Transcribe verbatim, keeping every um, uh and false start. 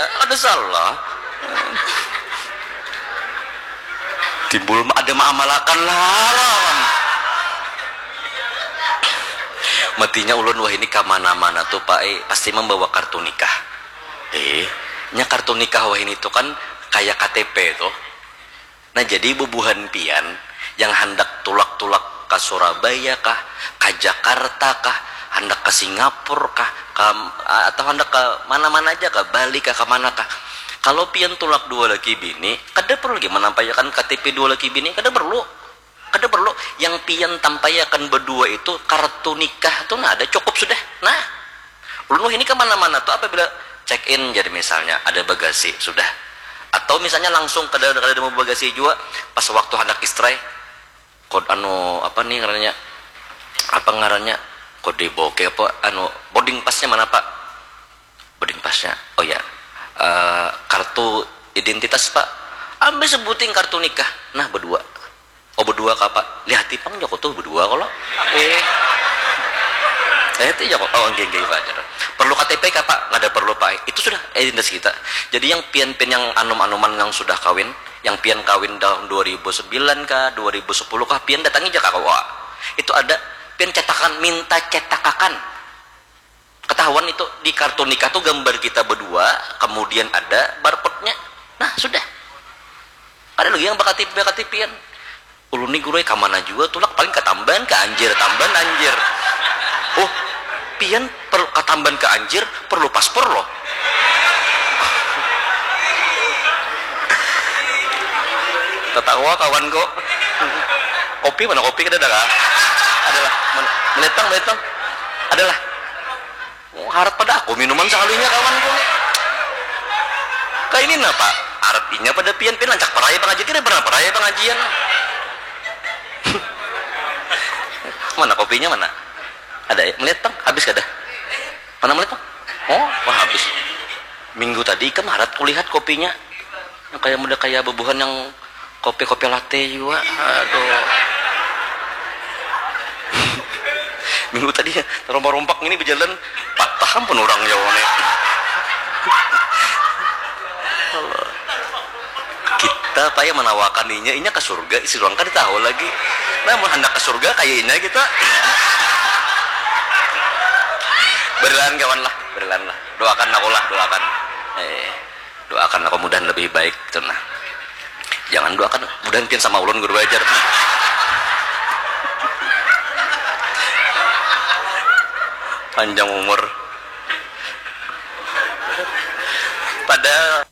Kada salah. Timbul ma-, ada maamalakan lah lawan. Matinya ulun wahini ka mana-mana tu, Pak, eh, pasti mambawa kartu nikah. Eh, nya kartu nikah wahini tu kan kaya K T P tu. Nah, jadi bubuhan pian yang handak tulak-tulak ka Surabaya kah, ka Jakarta kah, handak ka Singapura kah, ka, atau handak ka mana-mana aja, ka Bali kah, ka mana kah. Kalau pian tulak dua laki bini, kada perlu lagi manampaiakan K T P dua laki bini, kada perlu. Kada perlu. Yang pian tampaiakan badua itu kartu nikah tu, nah, ada, cukup sudah. Nah, ulun wahini ka mana-mana tu apabila check in, jadi misalnya ada bagasi, sudah. Atau misalnya langsung kada, kada ada mau bagasi jua, pas waktu handak istrai, kod anu, apa nih ngarannya, apa ngarannya, kode boke apa, anu, boarding passnya mana, Pak? Boarding passnya, oh ya. Eh, kartu identitas, Pak. Ambil sebuting kartu nikah. Nah, badua. Oh, badua ka, Pak? Lihati pang, jaku tuh, badua kalo. Eh. Lihati jaku. Oh, nggih, nggih, Pak. Perlu K T P kah, Pak? Nggak ada perlu, Pak. Itu sudah identitas kita. Jadi, yang pian-pian yang anum-anuman yang sudah kawin, yang pian kawin tahun dua ribu sembilan kah, dua ribu sepuluh kah, pian datangi aja ka K U A. Itu ada, pian cetakan, minta cetakan. Ketahuan itu di kartu nikah tuh gambar kita berdua, kemudian ada barcode-nya. Nah, sudah. Ada lagi yang bakatip-bakatipian. Ulun nih guru, eh, kamana juga tulak, paling katamban ke anjir, tamban anjir. Oh, pian per, katamban ke anjir, perlu paspor loh. Tatawa kawanku. Kopi mana, kopi kada ada kah? Adalah. Mana? Melihat pang, melihat pang. Adalah. Oh, harat pada aku minuman sakalinya, kawanku nih. Kayak ini napa? Harat inya pada pian, pian lancak parai pengajian, kira pernah parai pengajian. Mana kopinya, mana? Ada ya? Melihat pang, habis kada? Mana melihat pang? Oh, wah, habis. Minggu tadi ikam harat kulihat kopinya. Yang kayak muda kayak bubuhan yang kopi-kopi latte juga. Aduh. Minggu tadi ya, terompak-rompak ini berjalan, patah ampun orang jauh nih. Kita payah menawakan inya, inya ke surga, isi ruang kada tahu lagi. Nah, mun handak ke surga, kayak inya kita. Berlahan kawan lah, berlahan lah. Doakan aku lah, doakan. Eh. Doakan aku mudahan lebih baik tu nah. Jangan doakan, mudahan pian sama ulun guru ajar. Panjang umur. Pada